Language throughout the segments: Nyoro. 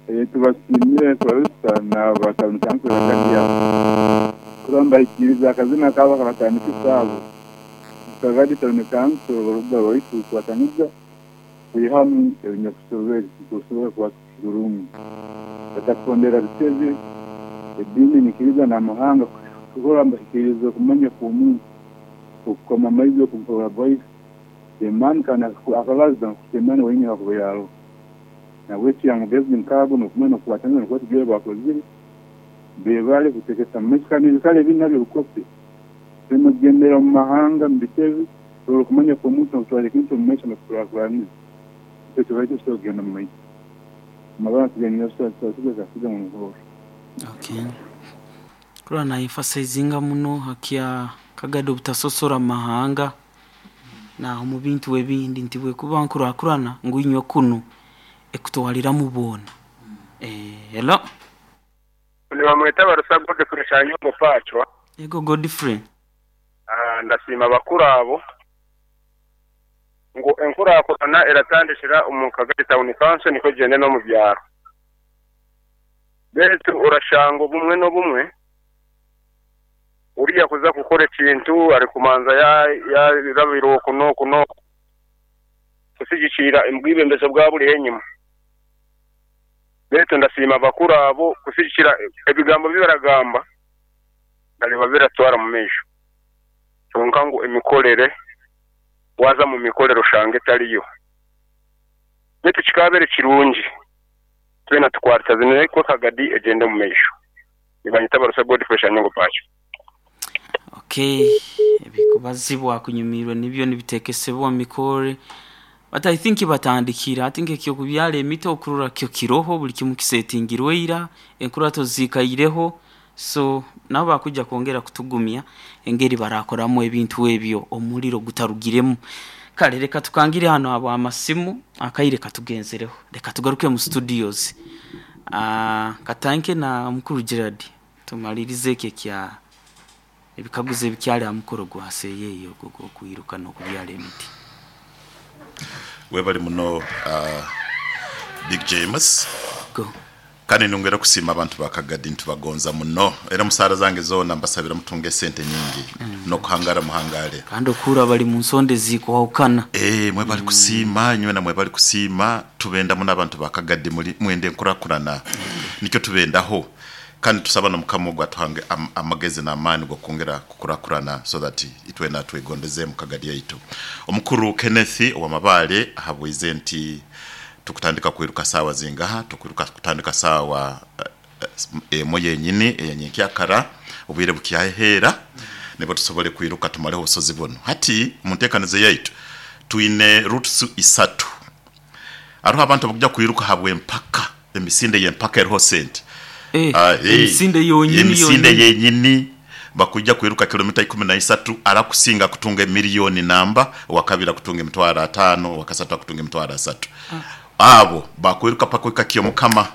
Tubasiimire kabisa n'abatandika Kagadi abo kurora nibahikiriza akazina kaabo akabatandikisa abo. Kagadi Town Council orubuga rwaitu rukwataniza kwihamu ebinyakusobere nitusobora kuba kurungi. Batakuhondera bitebe, ediini, enyikiriza n'amahanga kurora nibahikiriza okumanya kw'omuntu okukoma amaizi okunkora bwaitu. Emani kandi akabaza ngu Emani wenyini akuba yaroho. Nahabweki amagezi nk'ago n'okumanya n'okukwataniza nukwo tugire baakozire beebale kutekesa mu maiso kandi n'ebikaro ebindi nabyo bikope. Tuleme kugendera omu mahanga mu bitebe turole okumanya kw'omuntu n'okutwara ekintu omu maiso n'okukurakuraniza nikyo tubaire tusobora kugenda omu maiso. Okay. Kurora na emphasizinga muno hakya Kagadi obutasosora mu mahanga na omu bintu ebindi nti bwekuba nkurakurana ngu inywe kunu ekutwaliramu boona. Hello. Nibamweta Barusa Godfrey Kyanyongo Pacwa. Yego Godfrey. Ndasiima abakuru abo ngu enkurakurana eratandikira omu Kagadi Town Council nikwo egyende n'omu byaro. Beitu orashanga obumwe n'obumwe oriya kuza kukora ekintu arikumanza yarabira oku n'oku n'oku kusigikirira obwebembezi obwaba buriho enyima. Beitu ndasiima abakuru abo kusigikirira ebigambo ebi baragamba ndareeba biratwara omu maisho. Kwonka ngu emikorere waaza omu mikorere oshanga etariyo. Beitu kikaabaire kirungi twena tukwatazine kwo Kagadi egyende omu maisho. Nibanyeta Barusa Godfrey Shanyongo Pacho. Okay, ebikubazibwa kunyumirwe nibyo nibitekesebwa omu mikore but I think batandikire hati nk'ekyokubyara emiti okurora kyo kiroho buli kimu kisetingirwe ira enkurato ziikaireho so nabo bakwija kwongera kutugumya engeri barakoramu ebintu ebyo omuriro gutarugiremu. Kale leka tukangire hanu habw'amasimu akaire katugenzereho leka tugaruke mu studios. Katanke na mukuru Gerald tumalirize eki ekya ebikaguzo ebikyali ha mukoro gwa seyeeya ogwo ogw'okwiruka n'okubyara emiti. Webale muno Big James. Go. Kandi nyongera kusiima abantu ba Kagadi nitubagonza muno era omu saara zange zoona mbasabira mutunge esente nyingi n'okuhangara muhangare. Kandi okuhurra bali mu nsonda ezikwahukana. Eeh mwebale kusiima inywena mwebale kusiima tubenda muno abantu ba Kagadi muri mwenda enkurakurana nikyo tubendaho kandi tusaba na mukama ogu atuhange amagezi n'amaani g'okwongera kukurakurana so that itwena twegondeze mu Kagadi yaitu. Omukuru Kenneth owa Mabaale ahabwize nti Tukutandika kwiruka saawa zingaha? Tukwiruka kutandika saawa emwe yenyini eya nyenkyakara, obwire bukyaheera nibwo tusobole kwiruka tumaleho obusozi bunu. Hati mu nteekaniza yaitu twine routes isatu. Haroho abantu abakuja kwiruka habw'empaka, emisinde y'empaka eroho sente. Emisinde yonyini Emisinde yenyini bakwija kwiruka kilomita ikumi na isatu, arakusinga akutunga emiliyoni namba, owakabiri akutunga emitwaro ataano, owakasatu akutunga emitwaro asatu. Abo bakwiruka paka ohika Kyomukama,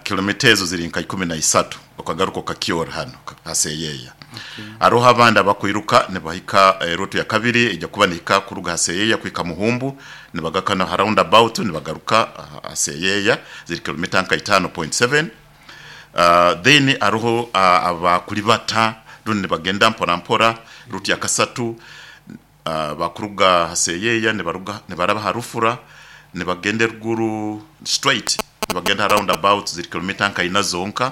kilomita ezo ziri nka ikumi na isatu okagaruka okakyora hano ha Seyeya. Haroho abandi abakwiruka nibahika eruutu ya kabiri eija kuba nehika kuruga ha Seyeya kuhika Muhumbu nibagaruka na ha round about nibagaruka ha Seyeya ziri kilomita nka itaano point seven. Then haroho abakuribata rundi nibagenda mpora mpora route ya kasatu bakuruga ha Seyeya nibaruga nibaraba ha Rufura nibagenda eruguru straight nibagenda ha round about ziri kilomita nka ina zonka.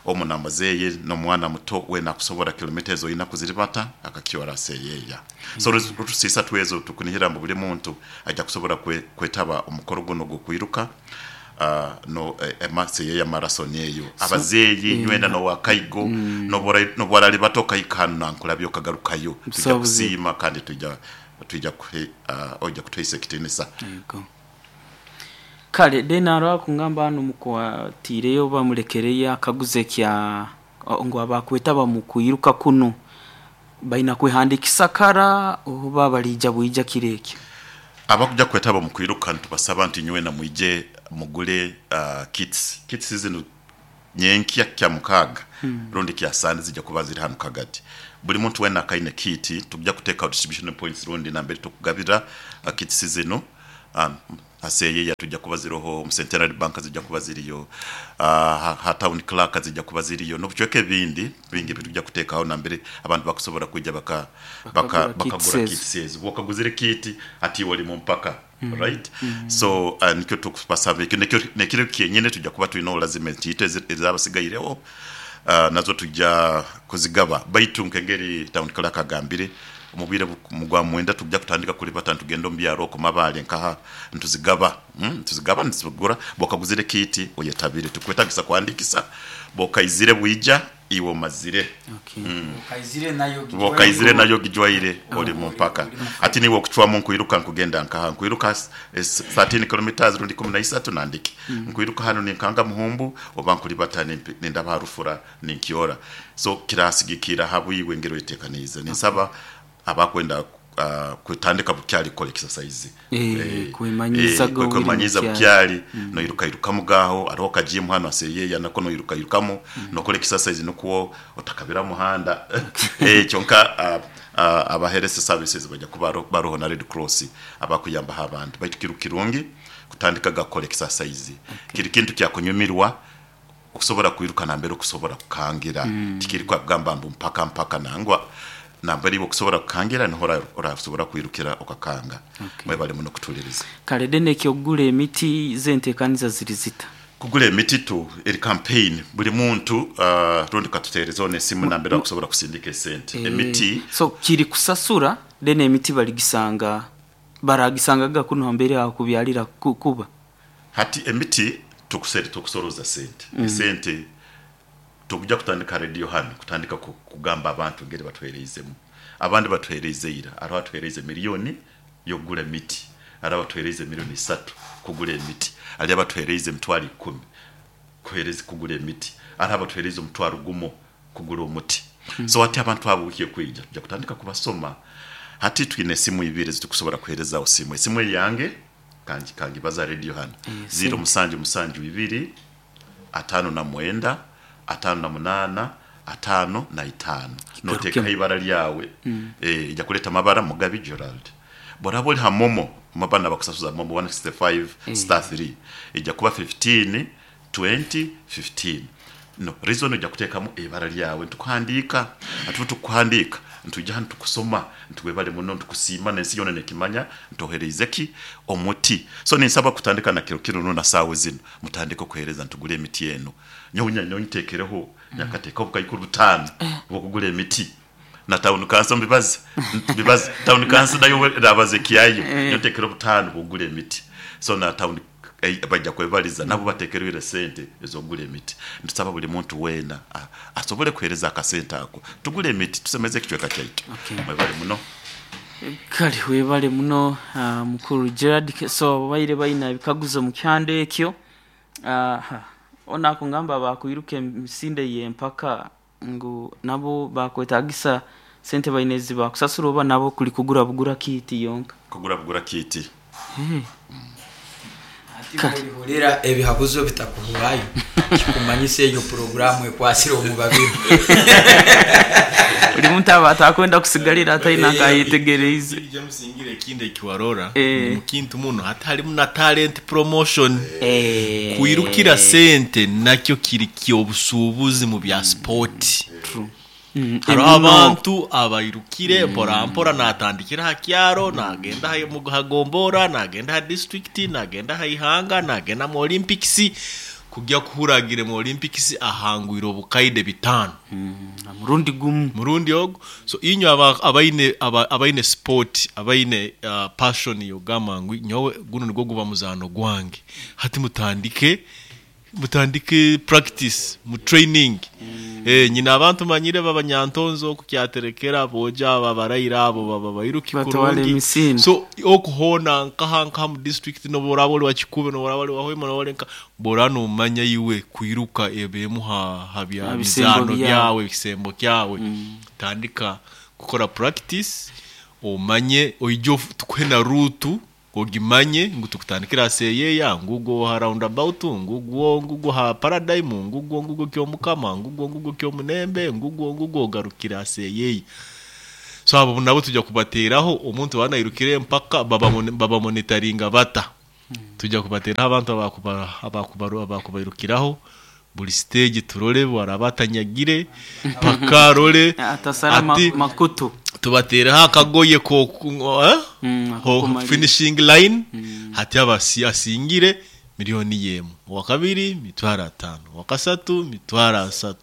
Omu n'amuzeeyi n'omwana muto weena akusobora kilomita ezo ina kuziribata akakyora Seyeya. So routes isatu ezo tukunihira ngu buli muntu aija kusobora kwetaba omu mukoro gunu ogw'okwiruka. No seyeya marathon eyo. Abazeeyi nywena n'owa kaigo n'obu oralibata okahika hanu nankulabya okagarukayo, twija kusiima kandi twija twija oija kutuhaisa ekitiinisa. Kale then haroho akungamba hanu mukwatiireyo oba mulekereyo akaguzo ekya ngu abakwetaba mu kwiruka kunu baina kwehandikisa kara oba baliija bwija kiro ekyo? Abakuja kwetaba omu kwiruka nitubasaba nti nywena mwije mugule kits. Kits zinu nyenkya Kyamukaaga rundi Kyasande zija kuba ziri hanu Kagadi. Buli muntu weena akaine kit tukuja kuteekaho distribution points rundi nambere tukugabira kits zinu. Aseyeya tujja kuba ziroho, mu Centenary Bank zijja kuba ziriyo, ha town clerk zijja kuba ziriyo, n'obucweka ebindi bingi bitujja kuteekaho nambere abantu bakusobora kwija Bakagura bakagura kits kits ezo. Bwokaguzire kit hati iwe oli mu mpaka, right? So nikyo tukubasaba ekyo nekyo nekiro kyenyine tujja kuba twine olazima entiito ezabasigaireho nazo tujja kuzigaba, baitu nk'engeri town clerk agambire, omu bwire mu gwa mwenda tujja kutandika kulibata nitugenda omu byaro okwo Mabaale nkaha nituzigaba, nituzigaba nituzigura. Bwokaguzire kiiti oyetabire, tikukwetagisa kuhandikisa, bwokaizire bwija iwe omazire. Okay. Bwokaizire nayo Bwokaizire ogijwaire. nayo ogijwaire oli mu mpaka. Hati niiwe okucwamu nkwiruka nkugenda nkaha, nkwiruka 13 kilometres rundi ikumi na isatu nandiki, nkwiruka hanu ninkanga Muhumbu oba nkulibata nindaba ha Rufura ninkyora. So kirasigikira ha bwiwe engeri oyetekaniize. Ninsaba abakwenda kutandika bukyali kukora exercise, Kwemanyiizaga obwire kwemanyiiza bukyali. bukyali, noirukairukamu gaaho, hariho kajimu hanu aseyeya nako noirukairukamu nokora exercise nukwo otakabira muhanda. Kyonka aba health services baija kuba baroho na Red Cross abakuyambaho abantu, baitu kiri kirungi kutandikaga kukora exercise. Kiri kintu kyakunyumirwa okusobora kwiruka nambere okusobora kukangira, tikiri kugamba mbu mpaka mpaka nangwa, nambere iwe okusobora kukangira niho orasobora kwirukira okakanga. Mwebale muno kutuliriza. Kale then ekyokugura emiti zo entekaniza ziri zita? Kugura emiti tu eri campaign buli muntu rundi katuterezeho n'esimu nambere bakusobora kusindika esente emiti. So kiri kusasura then emiti baligisanga baragisangaga kunu hambere aho kubyalira kuba? Hati emiti tukusoroza sente, esente tukuja kutandika radio hanu kutandika kugamba abantu engeri batuhereizemu. Abandi batuhereize ira, hariho atuhereize million y'okugura emiti, hariho abatuhereize million isatu kugura emiti, hariyo abatuhereize emitwaro ikumi kuhereza kugura emiti, hariho abatuhereize omutwaro gumo kugura omuti. So hati abantu abo wiiki ekwija tuja kutandika kubasoma. Hati twine esimu ibiri ezitukusobora kuherezaho simu. Esimu eyange kangibaza radio hanu, ziro musanju musanju ibiri, 59 58 55. Notekaho ibara lyawe, eja kuleta amabara Mugabi Gerald. Bworaba ori ha momo, banu abakusasuza momo 165 star 3, eja kuba 15 20 15. No reason oja kutekamu eibara lyawe nitukuhandiika, ati obutukuhandiika nitwija hanu tukusoma nti webale muno nitukusiima n'ensi yoona nekimanya nti ohereize ki? Omuti. So ninsaba kutandika na kiro kinu na saawa zinu mutandike okuhereza ntugure emiti eno. Nyowe ntekereho nyakateekaho obukaikuru butaano obw'okugura emiti na town council mbibaze mbibaze town council nayo erabaza ekyayo. Nyowe ntekereho butaano obw'okugura emiti so na town baija kwebaliza nabo batekereire esente ez'okugura emiti. Nitusaba buli muntu weena asobole kuheereza akasente ako tugure emiti tusemeze ekicweka kyaitu. Mwebale muno. Kale webale muno mukulu Gerald. So ababaire baine ebikaguzo mu kihanda ekyo, ono akungamba bakwiruka emisinde y'empaka ngu nabo bakwetagisa sente baine ezibakusasura oba nabo kuli kugura bugura kiiti yonka? Kugura bugura kiiti. Hati bw'olihurira ebihabuzo bitakuhwayo, kikumanyisa eyo puroguraamu ekwasire omu babiri. Buli muntu aba atakwenda kusigalira ataine akayetegereize. Ekindi James ngira ekindi eki warora ngu mu kintu muno hati harimu na talent promotion. Kwirukira sente nakyo kiri ky'obusuubuzi mu bya sport. Hariho abantu abairukire mpora mpora natandikira aha kyaro nagenda aha gombora, nagenda aha disiturikiti, nagenda aha ihanga, nagenda mu Olympics, kugya kuhurra agiire mu Olympics ahangwire obukaide bitaano. Ha murundi gumu. Murundi ogu. So inywe abaine abaine sport, abaine passion y'okugamba ngu nyowe gunu nigwo guba muzaano gwange, hati mutandike Mutandike practice mu training. Nyine abantu manyire b'abanyantonzo oku Kyaterekera, aboojo abo abaraire abo baba bairuki Batwara kurungi. emisinde. So oku hoona nkaha nkaha mu district n'obu oraaba ori wa Kikuube, n'obu oraaba ori wa Hoima, n'obu ori nka, bw'oraaba noomanya iwe kwiruka eba emu ha bya Ha bisembo mizaano byawe. byawe, ekisembo kyawe, tandika kukora practice omanye oije tukuhe na route Ogimanye ngu tukutandikira aha Seeyeeya, ngugwo ha Round About, ngugwo ngugwo ha Paradigm, ngugwo ngugwo Kyomukama, ngugwo ngugwo Kyomunembe, ngugwo ngugwo ogarukire ha Seeyeeya. So abo nabo twija kubateeraho omuntu waaba nairukira empaka babamonitaringa bata? Tujja kubateeraho abantu abakubairukiraho buli stage, turole bwaraba atanyagire paka arole. Atasara Ati makutu. Tubateereho akagoye ko eh? Akokumalira. Finishing line. Hati asingire miliyoni yemu, owakabiri 500,000, owakasatu 30,000.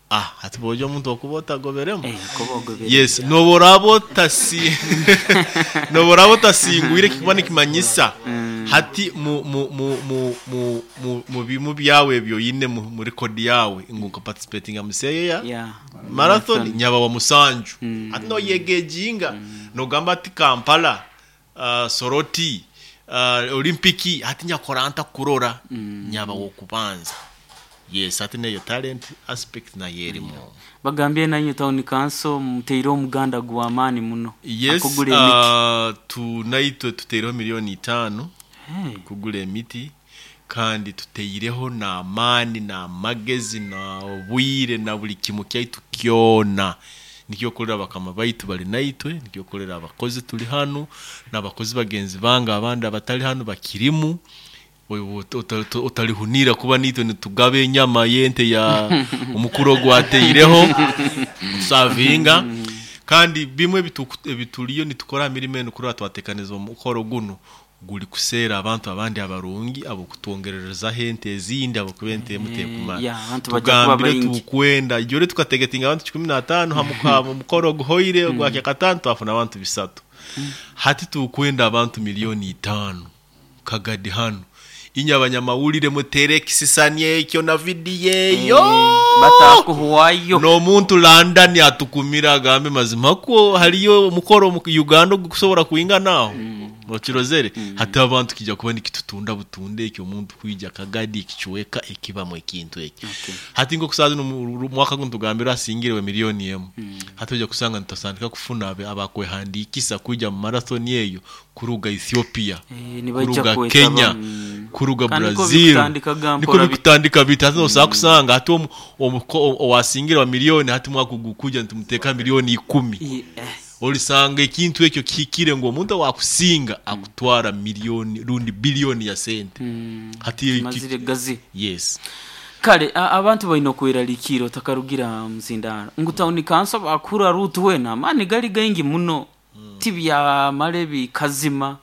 Ah, hati bojo omuntu okuba otagoberemu. Kuba ogobere. Yes, noboraba otasingwire, kikuba nikimanyisa hati mu mu mu mu mu mu mu bimu byawe ebyo oyine mu record yawe ngu nka mu Seyeya marathon nyaba wa musanju. Hati noyegejinga nogamba ati Kampala, Soroti, Olimpiki, hati nyakora nta kurora nyaba wokubanza. Yes, hati neyo talent aspect nayo erimu. Bagambye nanyu town council muteire omuganda gw'amaani muno. Yes. Akugula emiti. Tunaitwe tuteireho 5,000,000 Hey. kugula emiti, kandi tuteireho n'amaani n'amagezi n'obwire na buli kimu kyaitu kyona. Nikyo okorera bakama baitu bali naitwe, nikyo okorera abakozi tuli hanu n'abakozi bagenzi bange abandi abatali hanu bakirimu. Otalihunira kuba nitwe nitugaba enyama y'ente ya omukuru ogwateireho tusavinga. Kandi bimwe ebituliyo nitukora mirimo enu kurora twatekaniza omukoro guno guli kuseera abantu abandi abarungi abokutwongererezaho ente ezindi, abokuba ente emu tekumara. Yeah, abantu bajja kuba Tugambire baingi. tukwenda ijore tukategetinga abantu 15 mukoro oguhoire ogwa kyakatano, twafuna abantu 300. Hati tukwenda abantu 5,000,000 Kagadi hano. Inye abanyamawulire mutere ekisisani ekyo na vidiyo eyo. Batakuhwayo. N'omuntu London atukumira agambe mazima kwo haliyo omukoro mu Uganda ogukusobora kuinganaho okirozere. Hati abantu kijja kuba nikitutunda butunde ekyo omuntu kwija Kagadi ekichweka ekibamu ekintu ekyo. Hati nkokusaza mwaka guno tugambira asingirewe 1,000,000. Hati ojja kusanga nitusandika kufuna abakwehandikisa kuija mu marathon eyo kuruga Ethiopia, Nibaija kuruga kwetaba, Kenya, kuruga Kandi niko Brazil. bikutandika ga Niko mpora bikutandika bita. Hati nosaba kusanga hati owasingira wa miliyoni, hati mwaka gukuja nitumuteka 10,000,000. Olisanga ekintu ekyo kihikire ngu omuntu awakusinga akutwara miliyoni rundi biliyoni ya sente. Hati Kimazire gazi. Yes. Kale abantu balina okweraliikira otakarugira muzindaro ngu town council bakura rutu wena amaani gali gaingi muno, tibyamale bikazima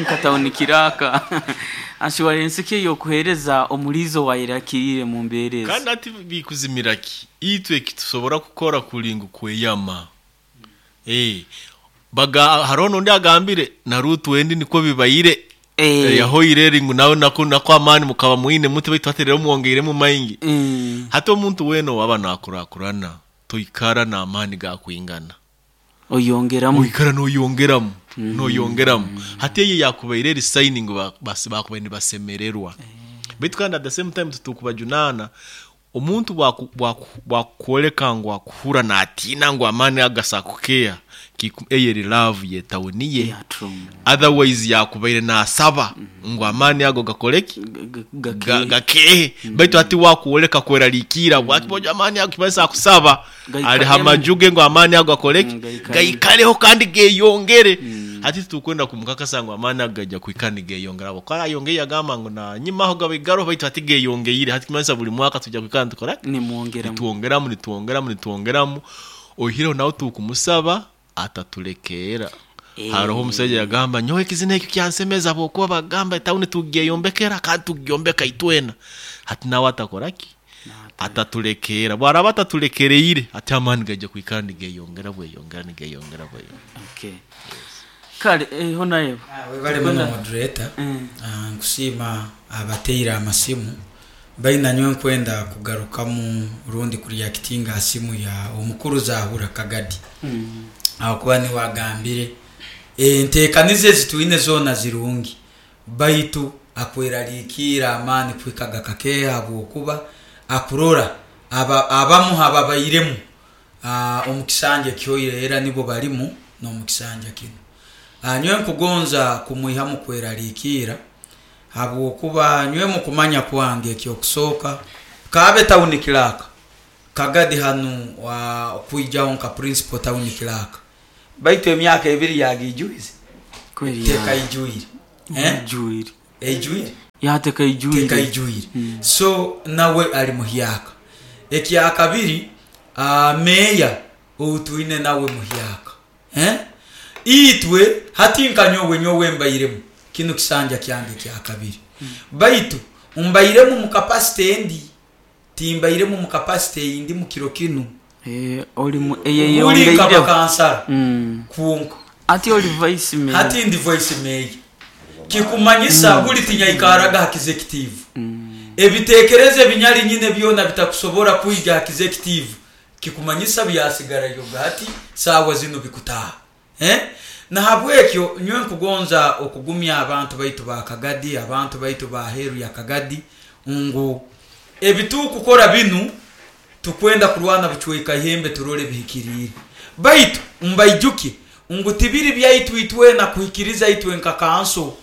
nka town kiraka assurance ki yokuhereza omulizo wayirakirire mu mbeera ezo. Kandi ati bikuzimira ki itwe kitusobora kukora kulinga kweyama. Baga hariho n'ondi agambire na rutu wendi niko bibayire. Yahoire eri ngu nawe nako amaani mukaba mwine muti baitu haterero mwongeiremu maingi. Hati omuntu wena owaba nakurakurana toikara n'amaani gakwingana. Oyongeramu. Oikara noyongeramu, noyongeramu. Hati eyo yakubaire eri signing bakubaire nibasemererwa. Baitu kandi at the same time tutukubajunana omuntu bwakukwoleka ngu akuhura natiina ngu amaani agasakukeya eyo eri love yetawuniye. Yeah, true. Otherwise yakubaire nasaba ngu amaani ago gakoleki? Gakehe. Gakehe. Baitu hati wakuoleka kweraliikira bwakiboja amaani ago kibaisa akusaba Gaikale ali hamajuge ngu amaani ago akoleki? Gaikale. Gaikaleho kandi geyongere. Hati tukwenda kumukakasa ngu amaani ago gajja kwikara nigeyongera. Abo kara ayongeye agamba ngu na nyimaho gabaigaro baitu hati geyongeire. Hati kimanyisa buli mwaka tujja kwikara nitukora Nimwongeramu. Nitwongeramu, nitwongeramu, nitwongeramu. Oihireho nawe tukumusaba atatulekera. Hariho omusajja yagamba nyowe ekizina ekyo kyansemeza bwokuba bagamba etawuni tugeyombekera kandi tugyombeka itwena. Hati nawe atakoraki? Atatulekera. Bwaraba atatulekereire ati amaani gajja kwikara nigeyongera bweyongera nigeyongera bweyongera. Okay. Kale, honorable. Webale muno moderator. Nkusiima abateire amasimu. Baina nyowe nkwenda kugarukamu rundi kureactinga ha simu ya omukuru Zahura Kagadi. Ahakuba niwe agambire enteekaniza ezi twine zoona zirungi, baitu akweraliikira amaani kuhika gakakeeha habwokuba akurora abamu ababairemu, omu kisanja ekyoire era nibo barimu n'omu kisanja kino. Nyowe nkugonza kumwihamu kweraliikira habwokuba nyowe mu kumanya kwange ekyokusooka kaabe town clerk Kagadi hanu kwijaho nka principal town clerk, baitu emyaka ebiri yagijuize Kweli teeka ya. ijuire. Eh? Ijwire. Eijwire. Yatekaijwire. Tekaijwire. So nawe ali muhyaka. Ekyakabiri, meeya ou twine nawe muhyaka. Eh? Itwe hati nka nyowe, nyowe mbairemu kinu kisanja kyange kyakabiri, baitu mbairemu mu capacity endi, timbairemu mu capacity eyindi mu kiro kinu. Oli mu Buli nka eyeyongeireho. Bakansara kwonka. Ati oli vice mayor. Hati ndi vice mayor. Kikumanyisa buli tinyaikaraga ha executive. Ebitekerezo ebinyali nyine byona bitakusobora kwija ha executive, kikumanyisa byasigarayoga hati saawa zinu bikutaha. Nahabwekyo nyowe nkugonza okugumya abantu baitu ba Kagadi, abantu baitu ba heru ya Kagadi, ngu ebitukukora binu tukwenda kurwana bucweka ihembe turole bihikiriire. Baitu mbaijuke ngu tibiri byaitu itwena kuhikiriza itwe nka kanso,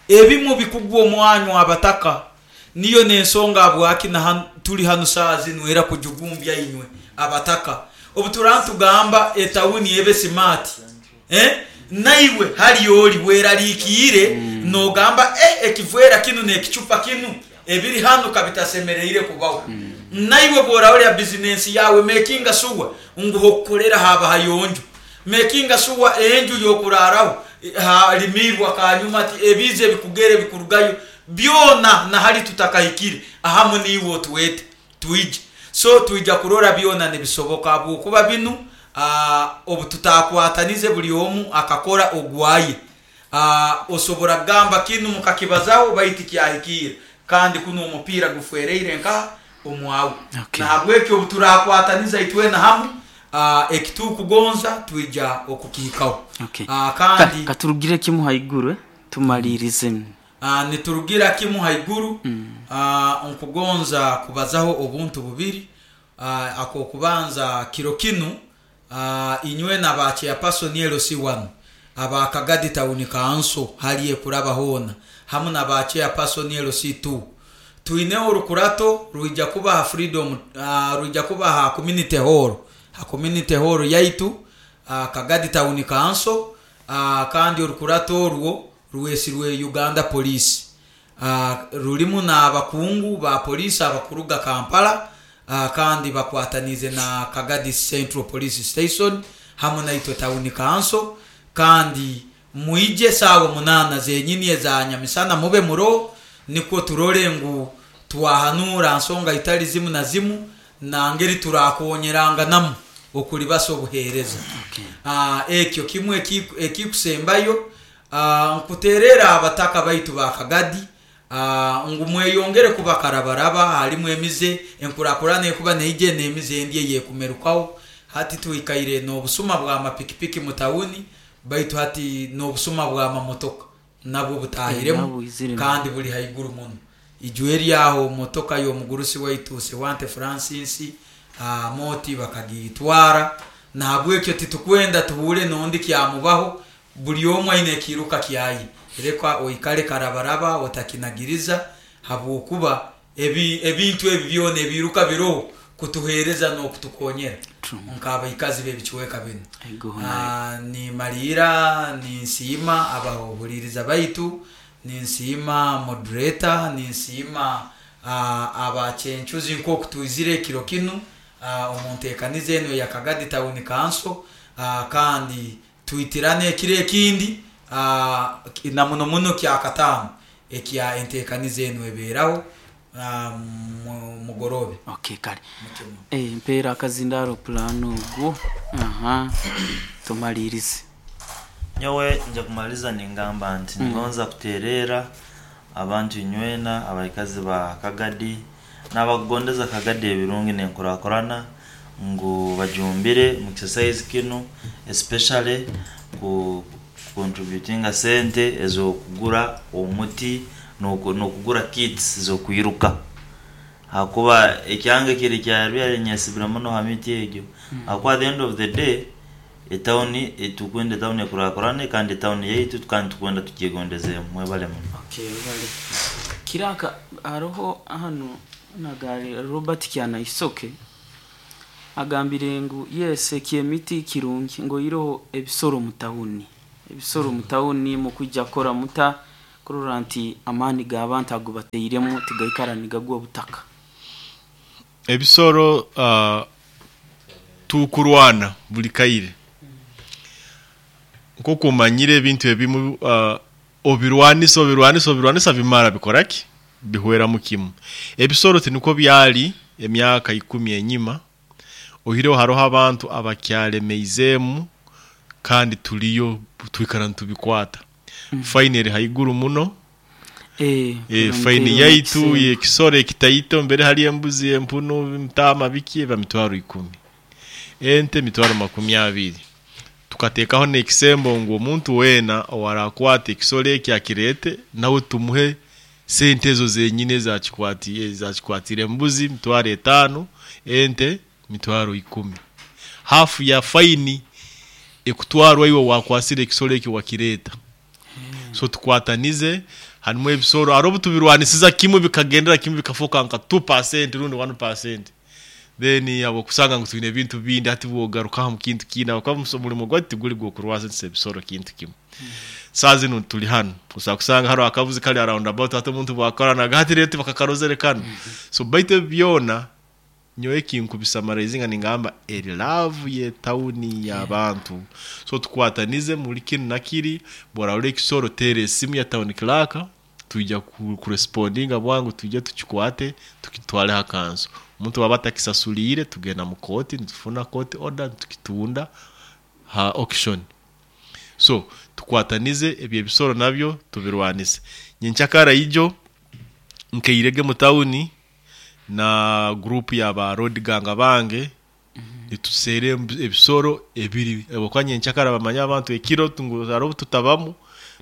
ebimu bikugwa omwanywa abataka. Niyo n'ensonga habwaki na tuli hanu saa zinu era kujugumbya inywe abataka. Obuturantugamba etawuni ebe smart, naiwe hali oli weralikiire, nogamba ekivwera kinu n'ekicupa kinu ebiri hanu kabitasemereire kubaho. Naiwe bw'orahurra bizinensi yawe makinga sure ngu hokukorera haba hayonjo, makinga sure enju y'okuraraho halimirwa kanyuma, ati ebiizi ebikugere bikurugayo byona na hali tutakahikire ahamu niiwe otwete twije. So twija kurora byona nibisoboka, habwokuba binu obu tutakwatanize buli omu akakora ogwaye. Osobora kugamba kinu mukakibazaho baitu kyahikire, kandi kuno omupiira gufwereire nka omwawe. Nahabwekyo obu turakwataniza itwena hamu, ekitukugonza twija okukihikaho. Kandi Katurugire kimu haiguru, tumalirize. Niturugira kimu haiguru. Nkugonza kubazaho obuntu bubiri. Akokubanza kiro kinu, inywe na ba chairperson LC1 aba Kagadi Town Council hali ekuraba hoona hamu na ba chairperson LC2, twineho orukurato rwija kuba ha Freedom, rwija kuba ha community hall, ha community hall yaitu, Kagadi Town Council, kandi orukurato orwo rwesirwe Uganda Police. Rulimu n'abakungu ba police abakuruga Kampala, kandi bakwatanize na Kagadi Central Police Station hamu naitwe Town Council. Kandi mwije saawa 8 zenyini eza nyamisana mube muro, nikwo turore ngu twahanura nsonga itali zimu na zimu na ngeri turakonyeranganamu okulibasa obuhereza. Ekyo kimwe ekikusembayo, nkuterera abataka baitu ba Kagadi, ngu mweyongere kuba karabaraba, halimu emize enkurakurana ekuba neije n'emize endi eyekumerukaho. Hati twikaire n'obusuma bwa mapikipiki mu tawuni, baitu hati n'obusuma bwa mamotoka nabwo butahiremu, kandi buli haiguru muno. Ijwe eryaho motoka y'omugurusi waitu Sewante Francis, moti bakagitwara. Nahabwekyo titukwenda tuhure n'ondi kyamubaho, buli omwe aine ekiruka kyaye. Reka oikale karabaraba otakinagiriza, habwokuba ebintu ebi byona ebiruka biroho kutuhereza n'okutukonyera nk'abaikazi b'ebicweka binu. Ni malira, ni nsiima abahuririza baitu, ni nsiima moderator, ni nsiima abachenchuzi nk'oku twizire ekiro kinu, omu nteekaniza eno ya Kagadi Town Council, kandi twitirane ekiro ekindi, na muno muno kyakataano ekya enteekaniza eno ebeeraho mugorobe. Okay, kale. Mpeera akazindaro plan ogwo. Aha. Tumalirize. Nyowe nja kumaliza ningamba nti ngonza kuterera abantu inywena abaikazi ba Kagadi n'abakugondeza Kagadi ebirungi n'enkurakurana ngu bajumbire mu exercise kinu, especially ku contributinga sente ez'okugura omuti n'okugura kits z'okwiruka, hakuba ekyange kiri kyarbyari nyesibira muno ha miti egyo, hakuba at the end of the day etawuni tukwenda etawuni ekurakurane, kandi etawuni yaitu kandi tukwenda tugyegondezemu. Mwebale muno. Okay, bale kiraka haroho hano nagari Robert Kyanaisoke agambire ngu yes ekyemiti kirungi ngo iroho ebisoro mu tawuni, ebisoro mu tawuni mukujja kora muta Kurora nti amaani g'abantu ago bateiremu tigaikara nigagwa obutaka. Ebisoro tukurwana buli kaire. Nk'oku omanyire ebintu ebimu obirwanisa obirwanisa obirwanisa bimara bikora ki? Bihweramu kimu. Ebisoro tinukwo byali emyaka 10 enyima, oihireho haroho abantu abakyalemeizeemu kandi tuliyo twikara nitubikwata. Fine eri haiguru muno. Fine yaitu y'ekisoro ekitaito mbere hali embuzi, empunu, entaama biki eba mitwaro 10. Ente mitwaro 20. Tukateekaho n'ekisembo ngu omuntu weena owarakwata ekisoro eki akirete nawe tumuhe sente ezo zenyini ezakikwatire embuzi mitwaro 5, ente mitwaro 10. Hafu ya faini ekutwarwa iwe wakwasire ekisoro eki wakireta. So tukwatanize harimu ebisoro hariho obu tubirwanisiza kimwe bikagendera kimwe bikafoka nka 2% rundi 1%. Then abo kusanga ngu twine ebintu bindi hati bwogaruka mu kintu kindi abakuba omurimo gwaitu tiguri gw'okurwanisa ebisoro kintu kimwe. Saa zinu tuli hano osobola kusanga hariho akabuzi kari around about hati omuntu bwakoranaga hati rero tibakakarozere kanu. So baitu ebi byona nyowe kinkubisamarizinga ningamba eri love ye tawuni y'abantu. So tukwatanize muri kinu na kiri, bworarora ekisoro teera esimu ya town clerk, twija kurespondinga bwangu twije tukikwate tukitwale ha kanso. Omuntu waba atakisasuliire tugenda mu kooti nitufuna court order tukitunda ha auction. So tukwatanize ebyo ebisoro nabyo tubirwanise. Nyenkyakara ijo nkeirege mu tawuni na group ya ba road gang bange nituseera ebisoro ebiri habwokuba nyenkyakara bamanya abantu ekiro ngu hariho obu tutabamu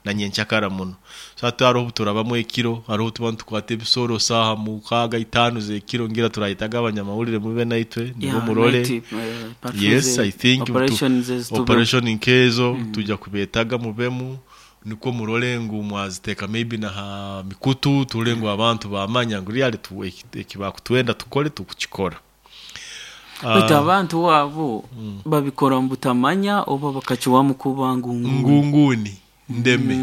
na nyenkyakara muno. So hati hariho obu turabamu ekiro, hariho obu tuba nitukwata ebisoro saaha 6, 5 z'ekiro ngira turayetaga abanyamawulire mube naitwe nibo murole. Yes, I think operation nkezo tujja kubetaga mubemu nikwo murole ngu mwaziteeka maybe na ha mikutu turole ngu abantu bamanya ngu really ekibakutwenda tukole tukukikora. Baitu abantu wabo babikora mu butamanya oba bakakiwamu kuba ngunguni. Ngunguni ndeme.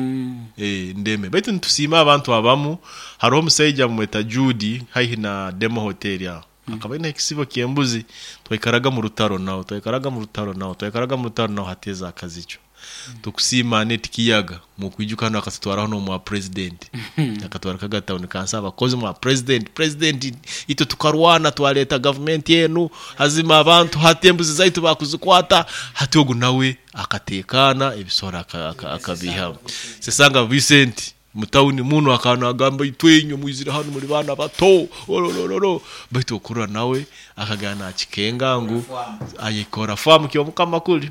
Ndeme. Baitu nitusiima abantu abamu hariho omusaija bamweta Judy haihi na Demo Hotel aho. Akaba aine ekisibo ky'embuzi twaikaraga mu rutaro nawe twaikaraga mu rutaro nawe twaikaraga mu rutaro nawe hateeza akazico. Tukusiima Aneti Kiyaga mukwijuka hano akatutwaraho n'omwa president. Akatwara kaga town council abakozi mwa president president itwe tukarwana twaleta government enu hazima abantu hati embuzi zaitu bakuzikwata hati ogu nawe akatekana ebisoro akabihamu. Sesanga Vincent mutawuni muno akana agamba itwenywe mwizire hano muri bana bato ororororo baitu okurora nawe akagana akikenga ngu ayikora famu kyo mukama kuli.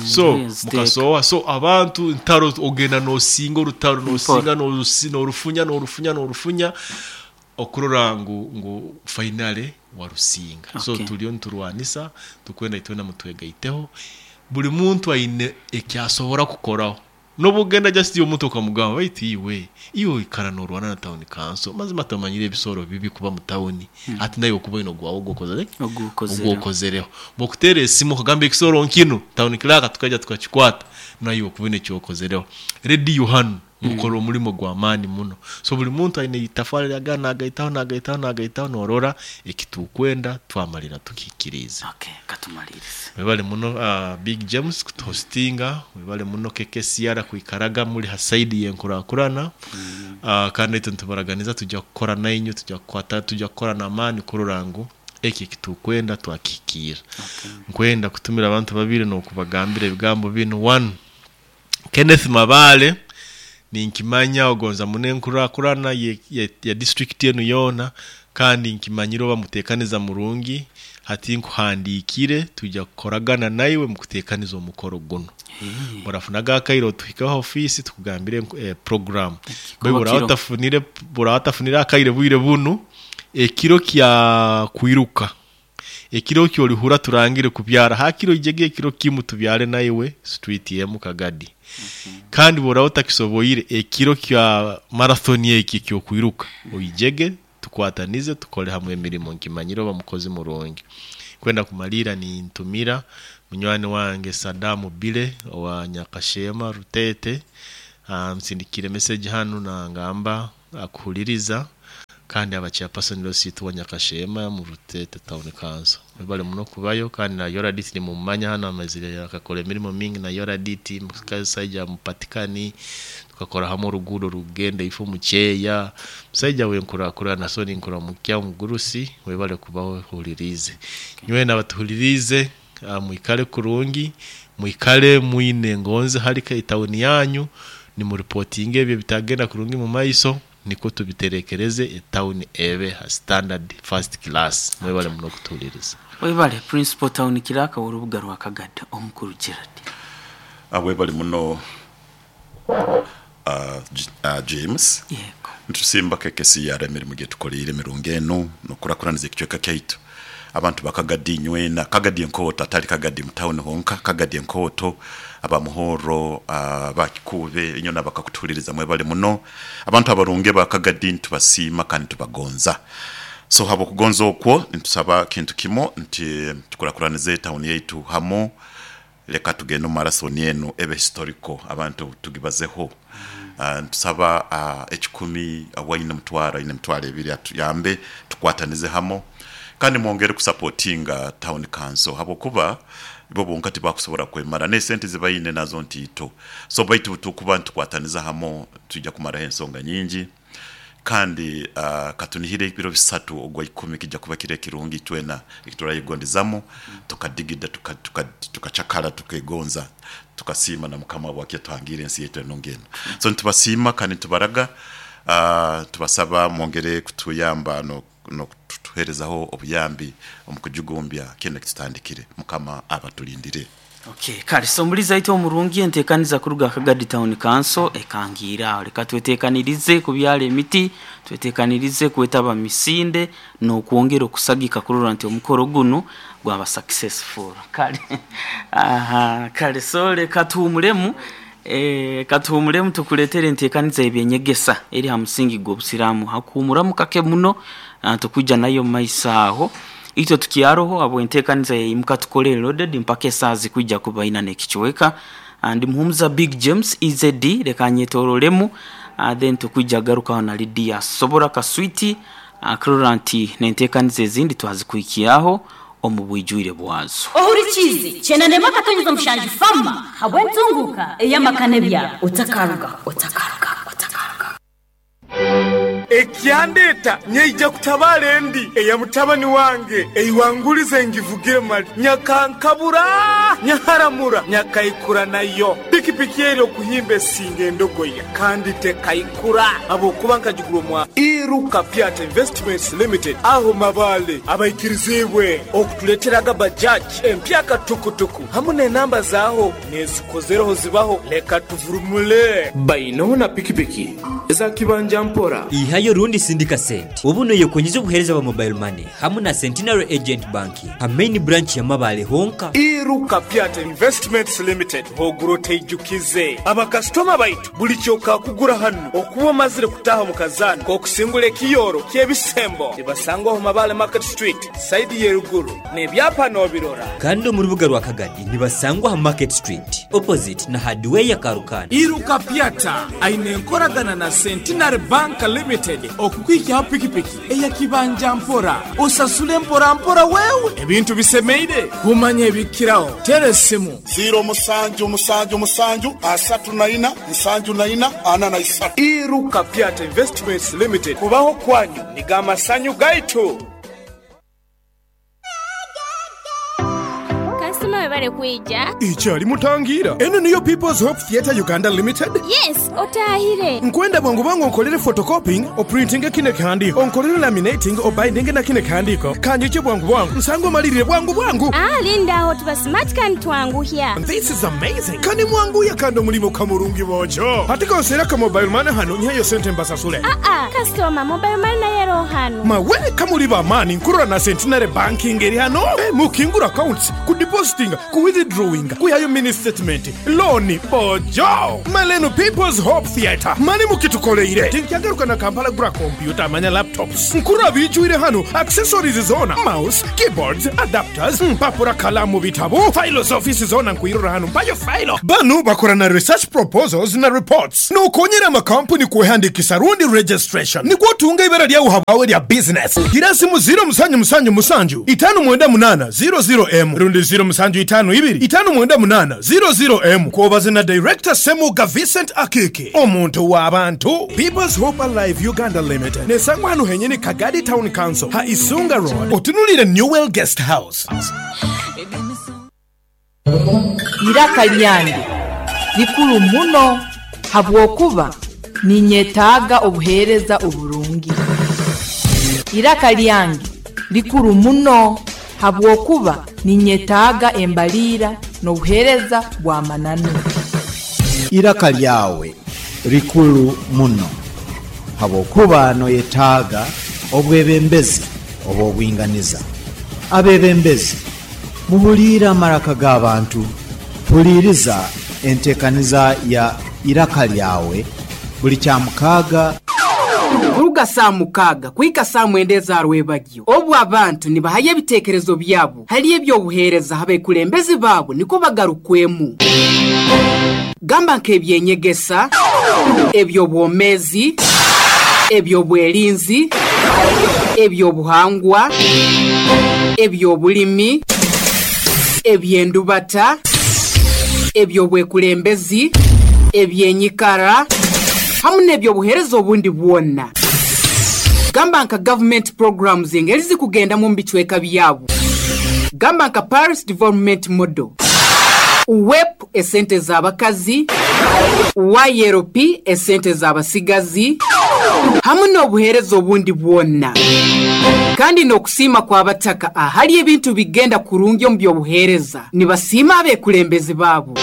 So mukasowa so abantu ntaro ogenda nosinga orutaro nosinga norufunya norufunya norufunya okurora ngu finale warusinga. So tuliyo nturwanisa tukwenda itwena mutwegaiteho buli muntu aine ekyasobora kukoraho. Nobugenda just omuntu okamugamba baitu iwe iwe ikara norwana na town council mazima tamanyire ebisoro bibi kuba mu town ati nayo kuba ino gwawo ogukozereho bokutera esimu okagamba ekisoro nkino town clerk tukaja tukakikwata nayo kuba ino kyokozereho radio hano mukora omulimo gwa maani muno. So buli muntu aine itafari lyagana nagaitaho nagaitaho nagaitaho norora ekitukwenda twamalira tukikiriza. Okay, katumalirize. Webale muno Big James kutuhostinga, webale muno KKCR kuikaraga muri ha side yenkurakurana. Kandi itwe ntubaraganiza tujja kukora nainyo tujja kukwata tujja kukora n'amaani kurora ngu eki kitukwenda twakikira. Nkwenda kutumira abantu babiri n'okubagambira ebigambo bino. One, Kenneth Mabale ninkimanya ogonza munenkurakurana ya district yenu yona kandi nkimanyiro bamutekaniza murungi hati nkuhandikire tujja kukoragana naiwe mukutekaniza omukoro guno. Murafunaga akairo tuhikaho office tukugambire program. Buratafunire akaire bwire bunu ekiro kya kwiruka ekiro kyolihura turangire kubyara hakiro ijege ekiro kimu tubyare naiwe street yemu Kagadi. Kandi bora utakisoboire ekiro kya marathon eki kyo kwiruka oijege tukwatanize tukole hamwe emirimo nkimanyiro bamukozi murungi. Kwenda kumalira ni ntumira munywani wange Sadamu Bile wa Nyakashema Rutete. Nsindikire message hanu nangamba akuhuliriza kandi aba chairperson lositu wa Nyakashema mu Rutete Town Council. Webale muno kubayo kandi na Yoradit ni mumanya hano amazire akakora emirimo mingi na Yoradit mukasaija mupatikani tukakora hamwe oruguudo rugenda ifo mucheya musaija wenkura na soni nkura mukya mugurusi webale kubaho hulirize. Nywe nabatuhulirize mwikale kurungi, mwikale mwine ngonze harika itawuni yanyu ni mu reporting ebyo bitagenda kurungi mu maiso niko tubiterekereze etawuni ebe ha standard first class. Mwebale muno kutuhuliriza. Webale principal town kiraka w'orubuga rwa Kagadi omukuru Gerard. Webale muno James. Yego. Ntusimba kekesi yara emirimu gyetukoleire emirungi eno nokurakuraniza ekicweka kyaitu. Abantu bakagadi nywena Kagadi enkoto atali Kagadi mu town honka, Kagadi enkoto abamuhoro bakikube inyona bakakutuliriza mwebale muno. Abantu abarunge bakagadi ntubasiima kandi tubagonza. So habo kugonza okwo ntusaba kintu kimo nti tukurakuranize town yaitu hamo, leka tugende mu marathon eno ebe historical abantu tugibazeho. Ntusaba ekikumi awaine mutwara ine mutwara ebiri atuyambe tukwatanize hamo kandi mwongere kusupportinga town council habokuba bo bonka tibakusobola kwemara ne sente zibayine nazo ntito. So baitu tukuba ntukwataniza hamo tujja kumara ensonga nyingi kandi katunihire ebiro bisatu ogwa 10 kijja kuba kire kirungi twena ekiturayigondezamo tukadigida tukachakala tukegonza tukasima na mukama wake twangire ensi yetu enongeno. So ntubasima kandi tubaraga tubasaba mwongere kutuyamba no kutuherezaho obuyambi omukujugumbya kene kitutandikire mukama abatulindire. Okay, kale so muliza ito omurungi entekaniza kuruga Kagadi Town Council ekangira leka twetekanirize kubyala emiti, twetekanirize kwetaba misinde n'okwongera okusagika kurora nti omukoro guno gwaba successful. Kale aha, kale so leka tuhumulemu katuhumulemu tukuletere entekaniza ebyenyegesa eri ha musingi gw'obusiraamu hakuhumuramu kake muno tukuja nayo maisaaho ito tukiaroho abo entekaniza yimuka tukole loaded mpaka esazi kujja kubaina nekichweka and muhumuza Big James EZD leka nyetorolemu then tukuja garuka na Lydia sobora kaswiti akrora nti nentekaniza ezindi twazikuikiaho omu bwijwire bwazo. Ohurikizi chenane makatonyeza mushanji fama habwe ntunguka eyamakane bya otakaruga otakaruga otakaruga. Ekyandeta nyeija kutabala endi eya mutabani wange eiwangulize ngivugire mali nyakankabura nyaharamura nyakaikura nayo pikipiki eri okuhimba esinga endogoya kandi tekaikura abokuba nkagigura mwa Iruka Piata Investments Limited aho mabale abaikirizibwe okutuleteraga bajaji empyaka tukutuku hamwe n'enamba zaho nezikozereho zibaho leka tuvurumule baino na pikipiki za kibanja mpora ihayo rundi sindika sente ubuno yekonyeza obuhereza bwa mobile money hamwe na Centenary Agent Banking ha main branch ya Mabale honka. Iruka Piata Investments Limited hoguro teijukize abakastoma baitu buli kyoka kugura hano okuba mazire kutaha mu kazana kokusingula ekiyoro kyebisembo ibasangwa ho Mabale Market Street side yeruguru nebyapa nobirora kandi mu rubuga rwa Kagadi nibasangwa ha Market Street opposite na hardware ya Karukana. Iruka Piata aine nkoragana na Centenary Bank Limited okukwikiaho pikipiki eyakibanja mpora osasule mpora mpora wewe ebintu bisemeire kumanya ebikiraho tere simu 0 7 7 7 3 4 74 43. Iruka Piata Investments Limited kubaho kwanyu nigama sanyu gaitu. Kasima webale kuija. Ichali mutangira. Eno niyo People's Hope Theatre Uganda Limited. Yes, otahire. Nkwenda bwangu bwangu nkolere photocopying, o printing kine kandi, onkolere laminating, o binding na kine kandiko. Kanyiche bwangu bwangu. Nsango malirire bwangu bwangu. Ah, linda ho tuba smart kan twanguhya. This is amazing. Kani mwangu ya kando mulimo kamurungi bojo. Hatika osera ka mobile money hano nyayo sente mbasasule. Ah ah, customer mobile money na yero hano. Mawe kamuliba mani nkurura na Centenary Banking eri hano. Mukingura accounts, ku depositing, ku withdrawing, ku yayo mini statement, loan bojo. Maleno People's People's Hope Theatre. Mani mukitukoleire. Tinkyagaruka na Kampala gura kompyuta manya laptops. Nkurora biijwire hanu, accessories zoona, mouse, keyboards, adapters, mpapura, kalaamu, bitabo, fayilo z'ofiisi zoona nkwirora hanu. Mpayo fayilo. Banu bakora na research proposals na reports. Nookonyera amakampuni kwehandiikisa rundi registration nikwo otunga eibara lyawe habwawe erya bizinesi. Gira simu ziiro musanju musanju musanju itaanu mwenda munaana ziiro ziiro emu rundi ziiro musanju itaanu ibiri itaanu mwenda munaana ziiro ziiro emu kwobaze na Director Ssemuga Vincent Akiiki omuntu w'abantu. People's Hope Alive Uganda Limited nesangwa hanu henyini Kagadi Town Council ha Isunga Road otunuliire Newell Guest House. Iraka lyange likuru muno habwokuba ninyetaaga obuheereza oburungi. Iraka lyange likuru muno habwokuba ninyetaaga embaliira n'obuheereza bw'amananu. Iraka lyawe likuru muno habwokuba noyetaaga obwebembezi obw'obwinganiza. Abebembezi muhuliire amaraka g'abantu, huliiriza enteekaniza ya Iraka lyawe buli Kyamukaaga. Kuruga saa 6 kuhika saa 9 za rwebagyo, obu abantu nibahayo ebiteekerezo byabo hali eby'obuheereza abekulembezi baabo niko bagarukwemu. Gamba nk'ebyenyegesa, eby'obwomeezi, eby'obwerinzi, eby'obuhangwa, eby'obulimi, eby'endubata, eby'obwekulembezi, ebyenyikara, hamwe n'ebyobuheereza obundi bwona. Gamba nka government programs engeri zikugendamu mu bicweka byabo. Gamba nka Paris Development Model, UWEP esente z'abakazi, YLP esente z'abasigazi, hamwe n'obuheereza obundi bwona. Kandi n'okusiima kw'abataka ahali ebintu bigenda kurungi omu by'obuheereza, nibasiima abekulembezi baabo.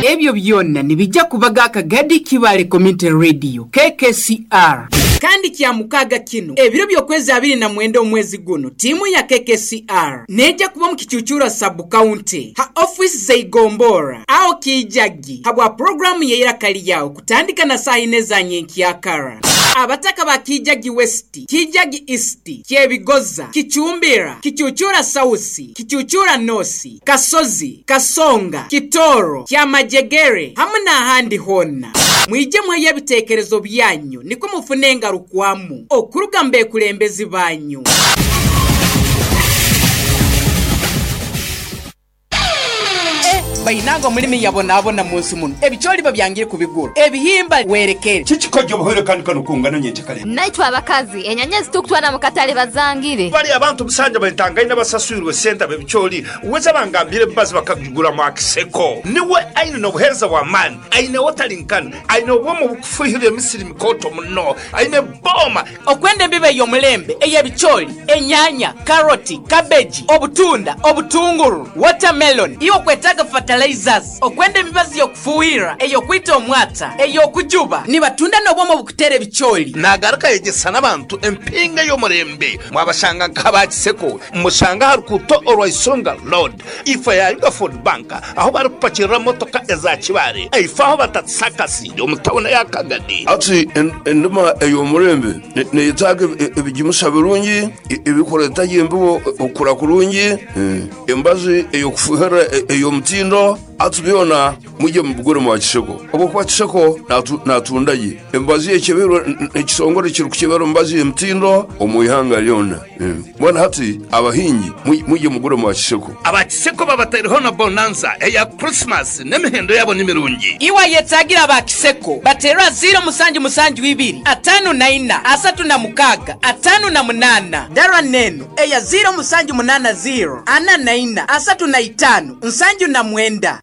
Ebyo byonna nibijja kubaga Kagadi Kibaale Community Radio KKCR. Kandi kya mukaaga kino ebiro by'okwezi 29 omwezi guno, tiimu ya KKCR nejja kuba mu Kicucura sub county ha office zeigombora aho Kijagi habwa programu y'Iraka Lyawe kutandika na saa 4 za nyenkyakara. Abataka ba Kijagi West, Kijagi East, Kyebigoza, Kichumbira, Kichuchura South, Kichuchura North, Kasozi, Kasonga, Kitoro, Kyamajegere hamwe n'ahandi hona. Mwije mweyo ebiteekerezo byanyu niko mufune engarukwamu okuruga mbekulembezi banyu. Bainango mulimi yabonabona munsi muno ebicholi babyangire kubigura ebihimba werekere kikikojjo buhoro kandi kanukungana nyenchakale. Naitwa abakazi enyanya zitukutwana mukatale bazangire bali abantu busanja batangaina basasuirwe senta bebicholi uweza bangambire bazi bakagura mu akiseko niwe aine no buhereza wa man aine wotalinkana aine obwomo bukufuhira emisiri mikoto muno aine boma okwende mbibe yomulembe eyebicholi enyanya karoti cabbage obutunda obutunguru watermelon iwo kwetaga fertilizers okwenda emibazi yokufuhira eyokwita omwata eyokujuba nibatunda n'obwomo bukutera ebicholi. Nagaruka yegesa n'abantu empinga y'omurembe mwabashanga nk'abakiseko mushanga harukuto orwaisonga road ifa ya Yuga Food Bank aho barupakirira motoka eza Kibare ifa aho batatsakasi omutawuna ya Kagadi. Ati endima ey'omurembe neyetaaga ebigimusa birungi ebikoleta yembibo okura kurungi embazi eyokufuhira ey'omutindo atubyona mujye mubugure mu Kiseko obwo kwa Kiseko natundaye embazi ekebero ekisongore kiri kukebero mbazi emtindo omuyihanga lyona mbona hati abahingi mujye mugure mu Kiseko. Abakiseko babatariho na bonanza eya Christmas n'emihendo yabo n'imirungi. Iwa yetagira abakiseko batera 0 7 7 2 5 4 3 6 5 8 dara neno eya 0 7 8 0 4 4 3 5 7 9.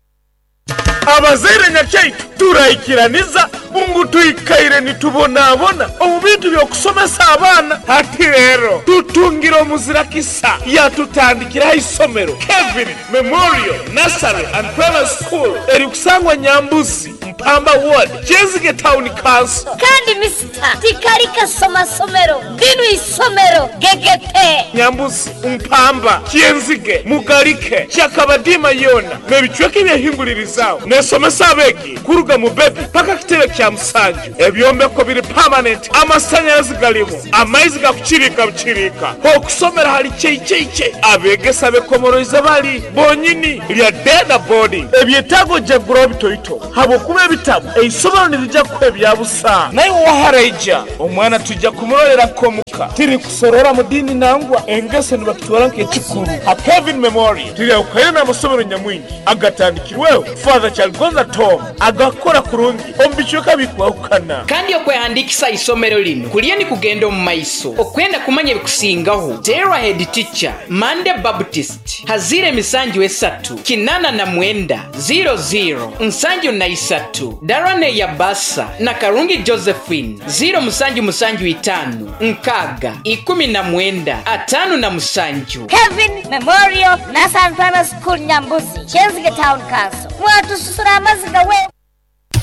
Abazaire nyakyaitu turaikiraniza ungu tuikaire nitubonabona omu bintu by'okusomesa abaana. Hati rero tutungira omuzira kisa yatutandikiraho isomero Kevin Memorial Nursery and Primary School erikusangwa Nyambuzi Mpamba Ward, Kyenzige Town Council. Kandi misita tikali kasomasomero linu isomero gegete. Nyambuzi, Mpamba, Kyenzige, Mugalike, Kyakabadima yona n'ebicweka ebyehingulirizaho nesomesa abeegi kuruga mu bebi paka kitebe kya musanju. Ebyombeko biri permanent, amasanyalazi galimu, amaizi gakukirika bukirika, okusomera hali kyeikyeiche, abegesa bekomoroize bali bonyini lya deda boarding. Ebyetaago jaguraho bitoito habwokuba ebitabo eisomero nirijja kuha ebya busa. Naye waharaija omwana tujja kumurolera komuka tiri kusorora mu dini nangwa engeso nibakitwara nk'ekikuru. Ha Kevin Memorial tiriyahukayo n'amasomero nyamwingi agatandikirweho Father Kyaligonza Tom agakora kurungi omu bicweka bikwahukana. Kandi okwehandikisa isomero lino kuliyo ni kugenda omu maiso. Okwenda kumanya ebikusingaho, terwa head teacher Mande Baptist hazire emisanju esatu 89 00 73, Darane Yabasa na Karungi Josephine 0 7 7 5 6 19 57. Kevin Memorial Nasan Primary School, Nyambuzi, Kyenzige Town Council. Mwatususura amaziga we.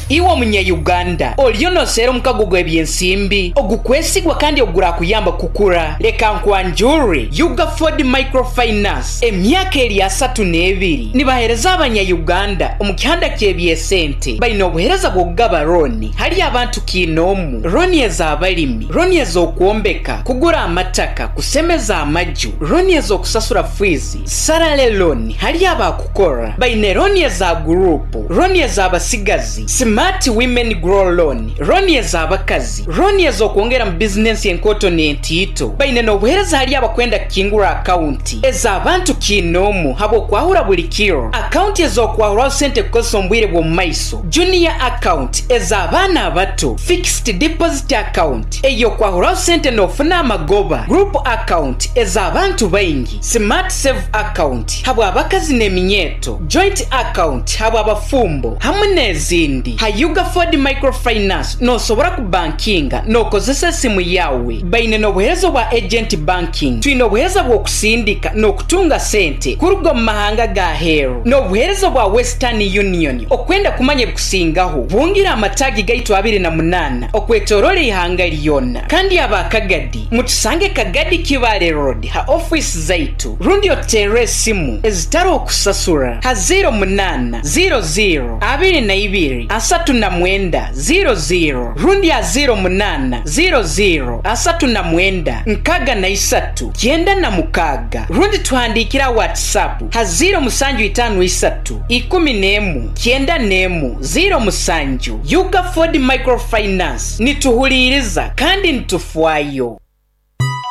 Iwe omunya-Uganda oliyo noseera omukago gw'ebyensimbi ogukwesigwa kandi ogurakuyamba kukura, leka nkwanjure Ugaford Microfinance. Emyaka eri 32 nibahereza abanya-Uganda omu kihanda ky'ebyesente. Baine obuhereza bw'okugaba roni hali abantu kiinoomu, roni ez'abalimi, roni ez'okwombeka, kugura amataka, kusemeza amaju, roni ez'okusasura fiizi, sarale loni hali abakukora. Baine roni eza gurupu, roni ez'abasigazi, Smart Women Grow Loan, roni ez'abakazi, roni ez'okwongera mu bizinensi enkoto n'entiito. Baine n'obuhereza hali abakwenda kukingura akaunti ez'abantu kiinoomu habw'okwahura buli kiro, akaunti ez'okwahuraho sente kukozesa omu bwire bw'omu maiso, junior account ez'abaana abato, fixed deposit account ey'okwahuraho sente n'ofuna amagoba, group account ez'abantu baingi, smart save account habw'abakazi n'eminyeeto, joint account habw'abafumbo hamu n'ezindi. Ha Ugaford Microfinance nosobora kubankinga n'okozesa esimu yawe. Baine n'obuheereza obwa agent banking. Twine obuheereza bw'okusindika n'okutunga sente kuruga omu mahanga ga aheeru n'obuheereza obwa Western Union. Okwenda kumanya ebikusingaho, bungira amataagi gaitu 28 okwetoroora eihanga lyona. Kandi aba Kagadi, mutusange Kagadi Kibaale Road ha ofiisi zaitu rundi otuteerre esimu ezitari okusasura ha 08 00 22 39 00 rundi ha 08 00 39 63 96 rundi tuhandiikire ha WhatsApp ha 0 7 53 11 91 07. Ugaford Microfinance, nituhuliiriza kandi nitufwayo.